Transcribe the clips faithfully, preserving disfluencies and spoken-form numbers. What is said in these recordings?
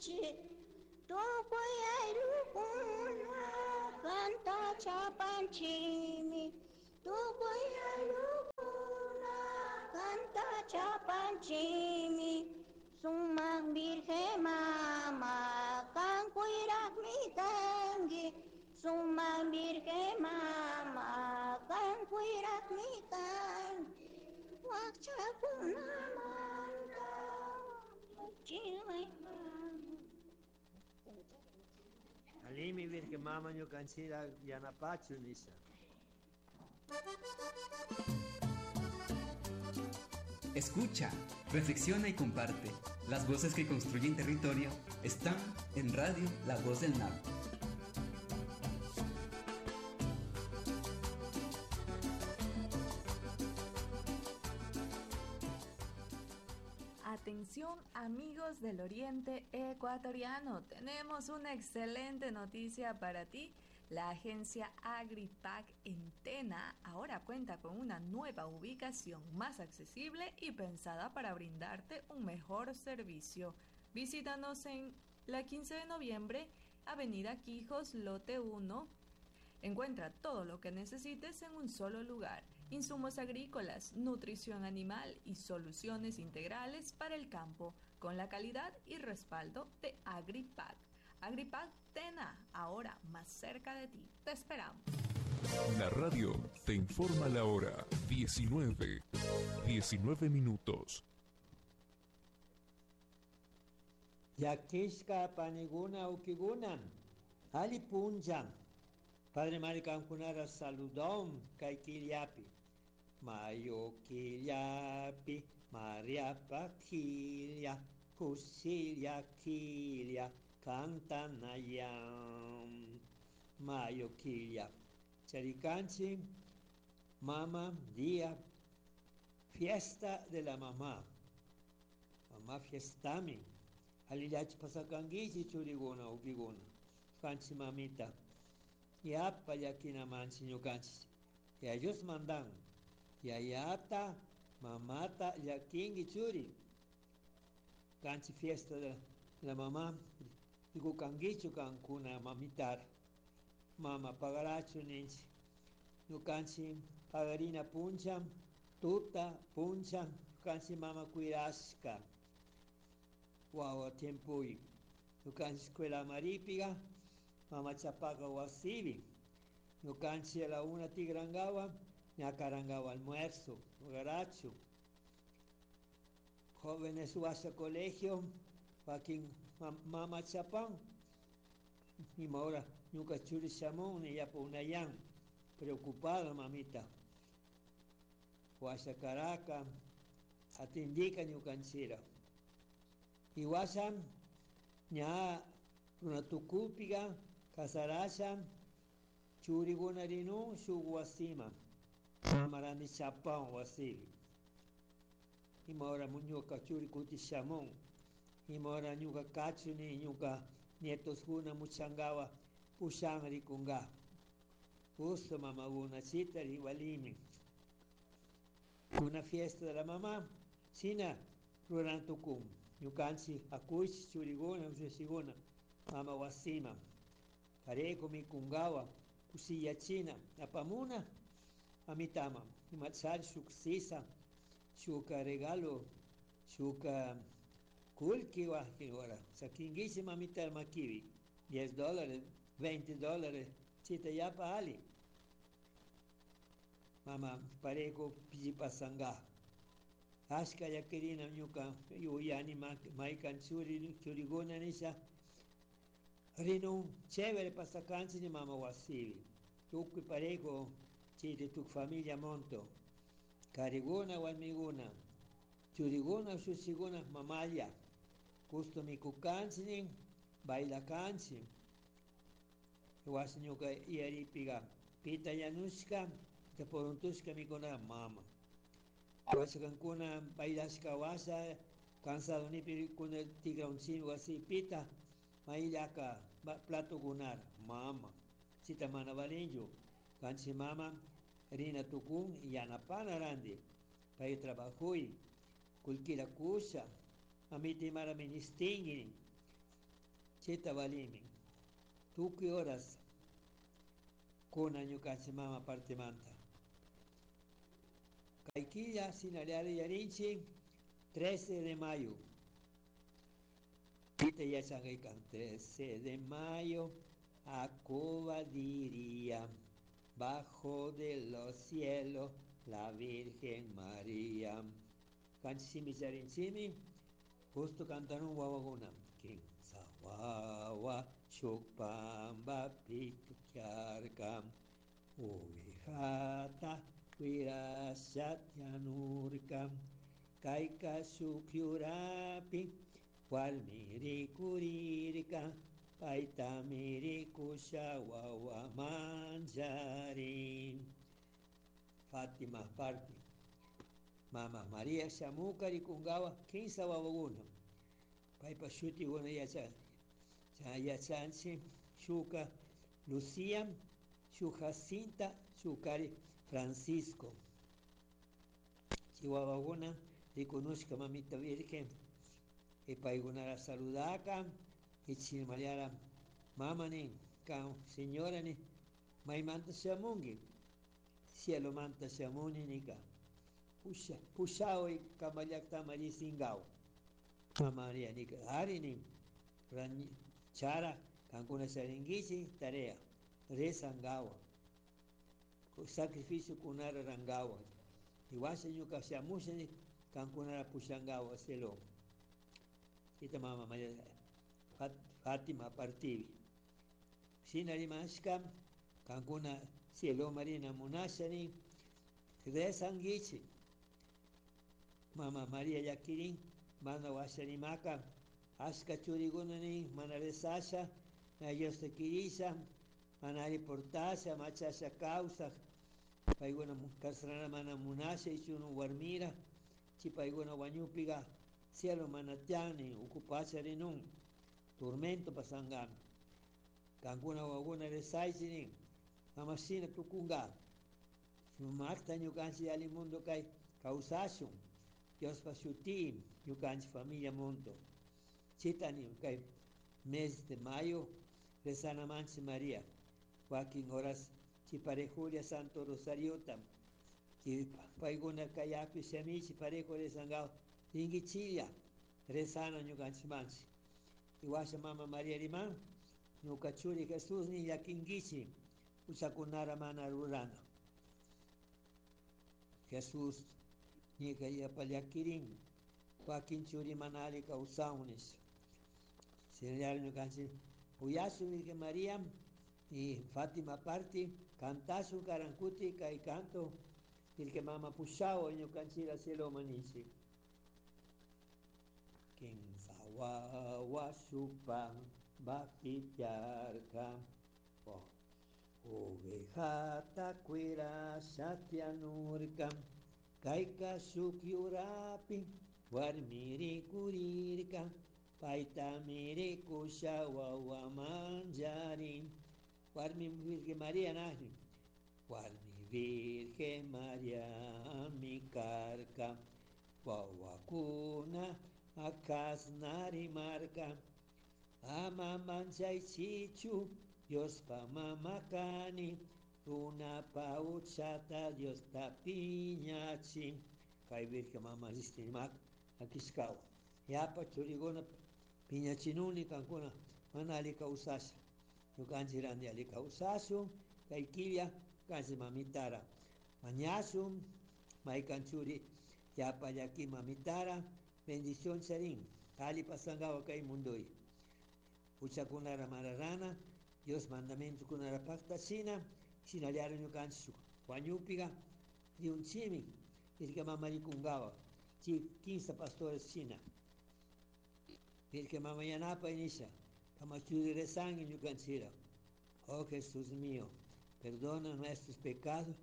kanchik tukuy ayllukuna kanta chapanchikmi tukuy ayllukuna kanta chapanchikmi sumak Virgen Mama kan kuyrakmi kanki sumak Virgen Mama kan kuyrakmi kanki wakchakunamanta chiway mama. Alimi Virgen Mama ñukanchira yanapachu nisha. Escucha, reflexiona y comparte. Las voces que construyen territorio están en Radio La Voz del Napo. Atención amigos del Oriente Ecuatoriano, tenemos una excelente noticia para ti. La agencia AgriPac en Tena ahora cuenta con una nueva ubicación más accesible y pensada para brindarte un mejor servicio. Visítanos en la quince de noviembre, Avenida Quijos, Lote uno. Encuentra todo lo que necesites en un solo lugar. Insumos agrícolas, nutrición animal y soluciones integrales para el campo, con la calidad y respaldo de AgriPac. AgriPac Tena, ahora más cerca de ti. Te esperamos. La radio te informa la hora diecinueve, diecinueve minutos. Yakishka paniguna ukiguna, ali punja. Padre Maricankunara saludón kaikiliapi. Mayo kiliapi, Maria Paquilia, Cusilia Kilia, Cantanayam. Mayo Kilia. Charicanchi, mama, día, fiesta de la mamá. Mamá fiestami. Alilach pasacanguichi churiguna ukiguna. Canchi mamita. Yapa yakina manchi ñukanchi. Ya ellos mandan. Yayata, mamata, yakingi churi. Canchi fiesta de la mamá. Digo canguicho cancuna mamitar. Mama pagaracho ninchi. Ñukanchi pagarina puncha, tuta puncha, canchi mama cuirasca. Guau, tiempo y. Ñukanchi escuela maripiga. Mama chapaca wasibi. Ñukanchi a la una tigrangawa, ñacarangawa almuerzo, garacho. Jóvenes wasa colegio, joaquín mama chapán. Y ahora ñuka churi chamón y ya punayán. Preocupada mamita. Wasa Caraca, atindica ñukanchira. Y wasa ña runatukupiga, casarasha, churigunarinu, shuguasima. Mamarani chapán wasibi. Y ahora muñoca churi kuti chamón. Y ahora ñuka cachuni, ñuka nietos guna muchangawa, pushan rikunga. Justo mamá guna chita igualimi. Una fiesta de la mamá, sina rurantukum. Ñukanchi akuichi churiguna, ushiguna, mama wasima. Pareco mi kungawa, kusilla china, apamuna, amitama. Imachar shuksisa, shuka regalo, shuka kulki wahkiwara. Sakingishi mamita makiwi. Diez dólares, veinte dólares, chita yapa ali. Mama pareco pijipasanga. Ashka yakirina ñuka yuyani maikan churi churiguna nisha. Rinu chévere pasakanchi ni mama wasibi. Tukui pareco chiri tuk familia monto. Kariguna walmiguna. Churiguna shushiguna mamaya. Gusto mikukanchi ni bailakanchi. Wasi ñuka iyaripiga. Pita yanushka, teporuntushka mikuna mama. Wasi kankuna bailashka wasa, cansado nipi kuna tigra un chingo así, pita, maillaka, plato gunar, mama. Chita mana valinju, kanchi mama, rina tukun, yanapana randi, pay trabajui, kulkira kusha, mamiti mara ministingini, Chayta valimi. Tukuy horas kuna ñukanchik mama partimanta. Kay killa sinallari yarinchik trece de mayo. Pita yachangaykan trece de mayo a Cuba diría, bajo de los cielos la Virgen María. Kanchimi charinchimi, justo cantaron wawakuna. Kimsa wawa shuk pambapi tiarca, ovejata cuirasha tianurca, kayka shuk yurapi, warmi rikurirka, paytami rikusha wawa mancharin. Fátima parti. Mama María shamuka rikungawa kinsa wawakuna. Paypa shutikuna yacha yachanchik shuka Lucía, shuk Jacinta, shukari Francisco. Chay wawakuna rikunushka mamita Virgen. Y paykunara saludaka y chimaliara mama nin, kan señora nin, maymanta shamunki, cielo manta shamuni nika. Pusha, pushaway kanpa llaktaman risingawa. Mama María nika, ari nin, chara kankuna charinkichik tarea, rezangawa, sacrificio kunara rangawa. Y washa ñuka shamusha ni kankunara pushangawa cielo. Ita mama María Fátima partivi. Shina rimashka kankuna cielo marina munasha ni rezanguichik. Mama María llakirin mana washa rimaka ashka churikuna nin mana rezasha, na Diosta kirisha, mana alli portasha, machasha kawsak, paykuna kasrana mana munasha ichunu warmira, chi paykuna wañupiga cielo mana tiyan uku pacha rinun, tormento pasangami. Kankuna wawakuna rezaychik nin, ama shina tukunga. Sumakta ñukanchik alli mundo kay kawsashun, Diospa shuti ñukanchik familia mundo. Chita nin kay mes de mayo rezana manchi María. Wakin horas chipare Julia Santo Rosariota. Chi paykuna kayapi shamichi parejo rezangao. Ringichilla rezana ñukanchik manchi. Y washa mama María riman, ñuka churi Jesús ni llakinkichi huchakunara mana rurana. Jesús nika yapa llakirin, wakin churi mana alli kawsawun nisha. Señor ñukanchik uyashun Virgen María y Fátima parti cantashun karankuti kay canto Virgen Mama pushaw ñukanchik cielo manichi. Kimsa wawa shuk pambapi tiarka, ovejata cuirasha tianurka, kayka shuk yurapi warmi rikurirka, paytami rikusha wawa mancharin. Warmi Virgen María nahni, warmi Virgen María mi karka, wawakuna akasna rimarka, ama manchaychichu Diospa mama kani, runapa huchata Diosta piñachin. Kay Virgen Mama ristimak akishkawa. Yapa churikuna piñachinuni kankuna mana alli kawsasha. Ñukanchik ranti alli kawsashun, kay killa kanchik mamitara mañashun, maykan churi yapa llaki mamitara, bendición charin, alli pasangawa kay mundoy. Huchakunara mararana, Dios mandamientokunara paktachina, shinallara ñukanchik wañupiga, riunchimi, Virgen Mama rikungawa, chi quince pastores shina. Virgen Mama yanapa inisha, kamachuri rezangi ñukanchira. Oh Jesús mío, perdona nuestros pecados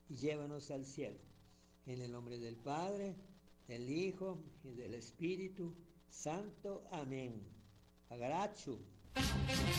y llévanos al cielo. En el nombre del Padre, del Hijo y del Espíritu Santo. Amén. Agarachu.